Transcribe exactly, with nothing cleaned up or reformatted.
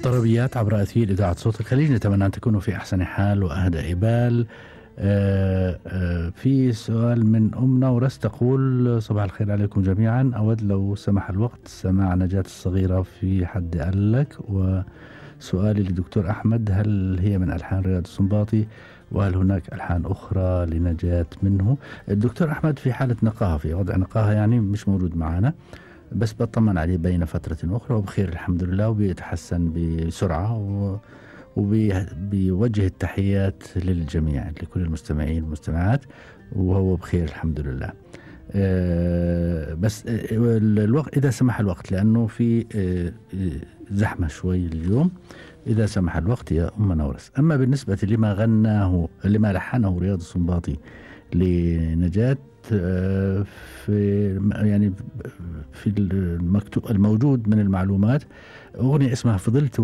طربيات عبر أثير إذاعة صوت الخليج. نتمنى أن تكونوا في أحسن حال وأهدأ بال. آه آه في سؤال من أم نورس تقول: صباح الخير عليكم جميعا، أود لو سمح الوقت سماع نجاة الصغيرة في حد قال لك. وسؤالي لدكتور أحمد: هل هي من ألحان رياض السنباطي؟ وهل هناك ألحان أخرى لنجاة منه؟ الدكتور أحمد في حالة نقاهة، في وضع نقاهة، يعني مش موجود معنا، بس بطمن عليه بين فترة أخرى وبخير الحمد لله، وبيتحسن بسرعة، وبيوجه التحيات للجميع، لكل المستمعين والمستمعات، وهو بخير الحمد لله. أه بس الوقت إذا سمح الوقت، لأنه في أه زحمة شوي اليوم، إذا سمح الوقت يا أم نورس. أما بالنسبة لما غناه لما لحنه رياض السنباطي لنجاة، في يعني في المكتوب الموجود من المعلومات أغنية اسمها فضلت